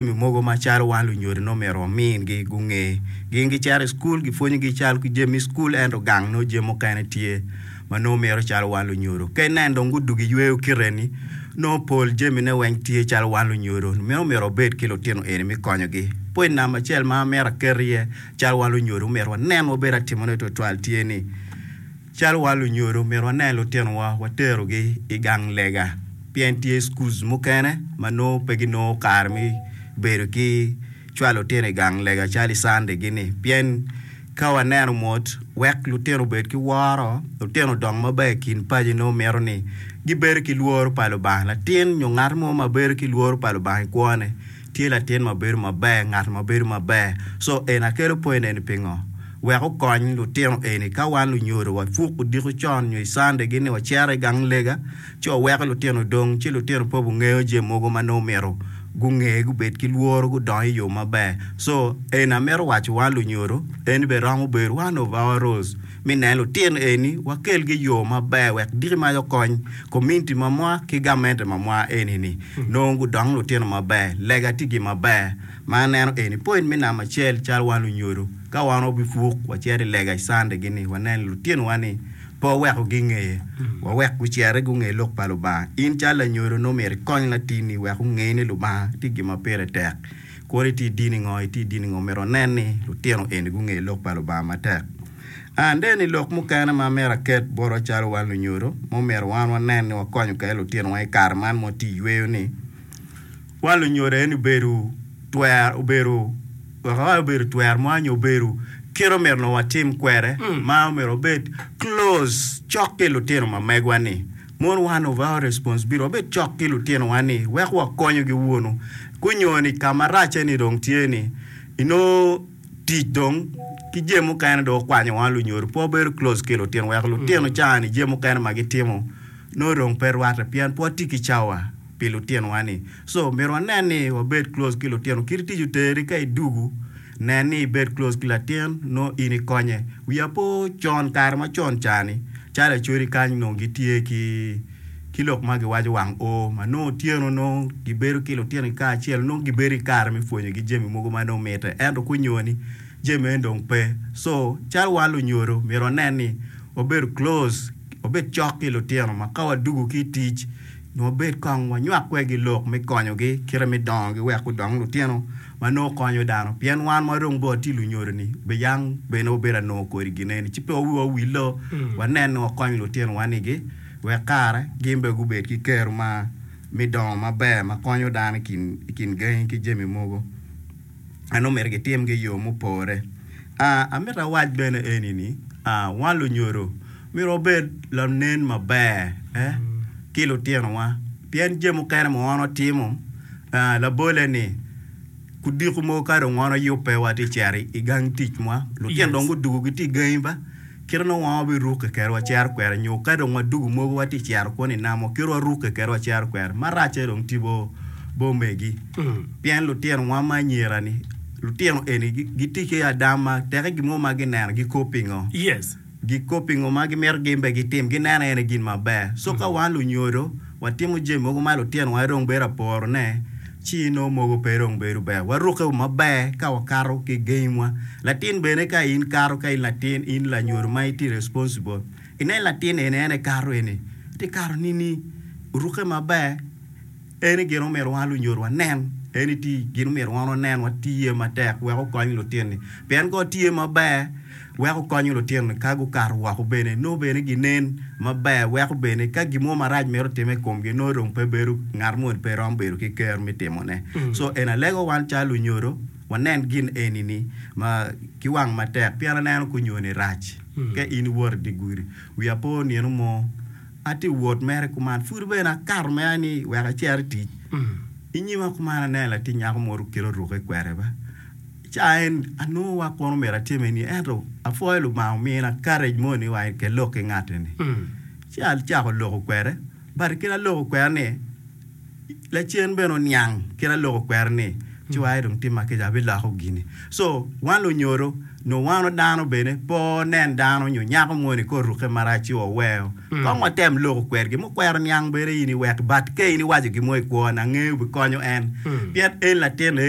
Jami mogo macalo wan lunyodo nongo myero wamingi gunge. Gin gicito i cukul gipwonyogi cal ki jami me cukul ento gang nongo jami mukene tye ma nongo mito calo wan lunyodo. Ka inen dong gudugo iyweyo kite ni nongo pol jamine weng tye calo wan lunyodo meno myero wabed ki lutino eni me konyogi. Point namba acel ma amito aket iye calo wan lunyodo myero wanen wabed atimone twatwal tye ni, Calo wan lunyodo, myero wanen lutinowa waterogi i gang lega pien tye schools mukene ma nongo pe ginongo kare me bedo ki cwalo lutino i gang lega calo i Sunday gi-ni pien ka waneno mot wek lutino obed ki woro, lutino odong maber i kin paci nongo mito ni gibedo ki lworo pa Lubanga. Latin nyo ngat mo ma bedo ki lworo pa Lubanga i kwone Tye latin ma bedo maber, ngat ma bedo maber. So eni akelo point eni pingo? Wek okony lutino eni ka wan lunyodo wapuk odiko con nyo i Sunday gi ni wacito i gang lega ci waweko lutino dong ci lutino pe gungeyo jami mogo ma nongo myero gunge gubed ki lworo gudong i yo maber. So eni amito waco wan lunyodo eni bene romo bedo one of our roles me neno lutino eni wakel gi i yo maber wek diki mac okony kominiti mamwa ki gamente mamwa eni ni. Nongo gudong lutino maber, lega tye gin maber ma aneno eni. Point me namba acel calo wan lunyodo ka wan wabipuk wacito i lega i Sunday gi ni wanen lutino wa ni pe waweko gingeye wawek guciti gunge lok pa Lubanga. In calo lanyodo nongo myero ikony latinni wek onge ni Lubanga tye gin ma pire tek. Kodi itye i dini ngo, itye i dini ngo myero wanen ni lutino eni gunge lok pa Lubanga matek. And then i lok mukene ma myero aket botwa calo wan lunyodo ma omyero wan wanen ni wakonyo kwede lutinowa i kare man ma watye i yweyo ni, wan lunyodo aye ni obedo twer obedo wek awac obedo twer mo nyo obedo kit omyero nongo watim kwede ma omyero wabed close cok ki lutino ma megwa ni mono one of our responsibility wabed cok ki lutinowa ni wek wakonyogi wunu gunyo ni ka maracce ni dong tye ni inongo tic dong ki jami mukene dong okwanyo wa lunyodo pe wabedo close ki lutino weko lutino ca ni jami mukene ma gitimo nongo dong pe rwate pien pe watye ki cawa pi lutino wa ni so myero wanen ni wabed close ki lutino kit tic oteri ka idugu nen ni ibed close ki latin nongo in ikonye wiya po con kare macon ca ni calo acholi kany nongo gitye ki ki lok ma giwaco wang oo ma nongo otyeno nongo gibedo ki lutinogi kacel nongo gibedo ki kare me pwonyogi jami mogo ma nongo mitte ento kunyoni jami meno dong pe so calo wan lunyodo myero wanen ni wabedo close wabed cok ki lutino ma ka wadugo ki i tic nongo wabed kong wanywak kwedgi lok me konyogi kite me dongogi wek gudong lutino ma nongo konyo dano pien wan ma dong bene watye lunyodo-ni bene bene wabedo anongo kodi gin-ni ci pe wiwa owillo wanen ni wakonyo lutinowa nigi Wek kare gin bene gubed ki kero ma me dongo maber ma konyo dano i kin gangi ki jami mogo ma nongo myero gitimgi i yo mupore. Amito awac bene eni ni, wan lunyodo myero wabed lanen maber ki lutinowa pien jami mukene ma wan watimo labole ni kudiko mogo ka dong wan wayubbe watye cito i gang ticwa lutino dong gudugo gitye i gangi ba. Kite nongo wan wabirukke kwede wacito kwede, nyo ka dong wadugo mogo watye ka cito kunu i namo, kite warukke kwede wacito kwede. Maracce dong tye bo omegi, pien lutinowa ma anyira-ni, lutino eni gitye ki adam ma teke gin mo ma gineno gikop pingo? Gikop pingo ma gimito gin bene gitim? Gineno en aye gin maber. Co ka wan lunyodo watimo jami mogo ma lutinowa dong bedo aporone, ci nongo mogo pe dong bedo ber. Warukke maber ka wakato ki gengwa. Latin bene ka in kato ka in latin in lanyodo ma itye responsible inen latin eni en ekato eni tye kato nini orukke maber eni gin omyero wan lunyodo wanen eni tye gin omyero wan wanen watiye matek wek okony lutini pien ka watiye maber weko konyo lutino ka gukato woko bene nongo bene ginen maber weko bene ka gin mo marac mito time i komgi nongo dong pe bedo ngat moni pe romo bedo ki kero me timone. So eni alego wan calo lunyodo wanen gin eni ni ma ki wang matek pien aneno ka onyoni rac ka in iwoto i dye gudi wiya po nino mo atye wot mere kuman pud bene akato mere ni wek acit i tic i nyima kuman aneno latin nyako mo kit orukke kwede ba. Ca en anongo wa kono myero atime ni ento apwoyo Lubanga omina courage mo ni wa ke lok ki ngat eni. Ci acako loko kwede but kit aloko kwede ni lacen bene oniang kit aloko kwede ni. Ci waye dong timma kica abiloko gini. So wan lunyodo nyo wan dano bene pe onen dano nyo nyako moni ka orukke marac ci waweo. Kong watem loko kwedgi mukwero niang bene in iwek but ka in iwaco gin mo i kwone angeyo bikonyo en pien en latin eni.